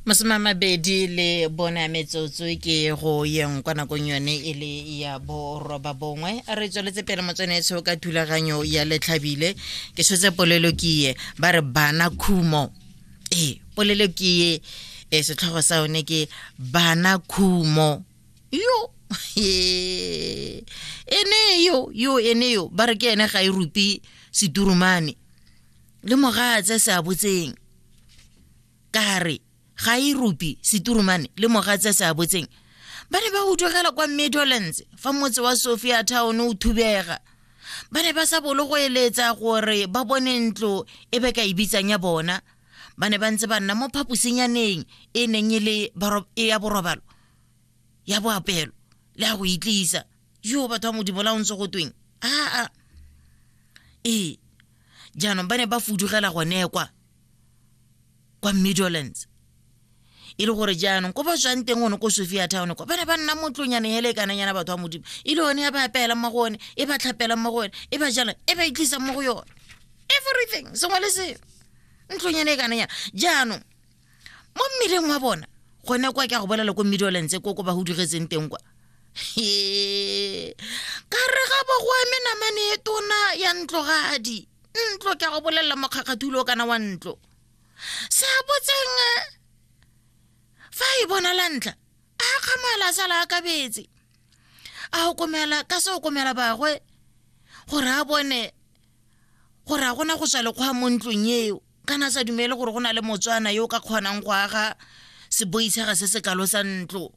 Masome a mabedi le bone a metsotso ke go yeng kwa nakong yone e le ya boroba bongwe. A re tsweletse pele motswanetsho ka thulaganyo ya Letlhabile. Ke tshotse polelo ke ye ba re bana khumo. Ee, polelo ke ye e setlhogo sa yone ke bana khumo. Yo ene yo yo ene yo ba re ke ene ga e rupi seturumane le mogatse se a botseng ka re ga e rupi seturumane le mogatse se a botseng. Ba ne ba utlwegela kwa Meadowlands fa motse wa Sophia Town o thubega. Ba ne ba sa bolo go eletsa gore ba bone ntlo e be ka e bitsang ya bona. Ba ne ba ntse ba nna mo phaposinyaneng e neng e le e ya borobalo, ya boapelo le ya go itlisa. Yo batho ba Modimo, la o ntse go tweng aa. Ee, jaanong ba ne ba fudugela gone kwa kwa Meadowlands, e le gore jaanong ko ba tswang teng gone ko Sophia Town kwa ba ne ba nna mo ntlonyane hele kananyana. Batho ba Modimo, e le yone ya ba apeelang mo go one, e ba tlhapelang mo go one, e ba jalang, e ba itlisang mo go yone, everything, sengwe le sengwe, ntlonyane e kananyana. Jaanong mo mmeleng wa bona gone kwa, ke a go bolela, ko Meadowlands ko ko ba hudugetseng teng kwa, ka re ga bo go eme namane e tona ya ntlogadi ntlo. Ke a go bolelela, mokgakgathulo kana wa ntlo se a botseng fa e bona la ntlha a kgamala, a sala a kabetse, a okomela ka se okomela bagwe gore a bone gore a gona go tswa lekgwa mo ntlong eo, kana sa dumele gore go na le Motswana yo o ka kgonang go aga seboitshega se se kalo sa ntlo.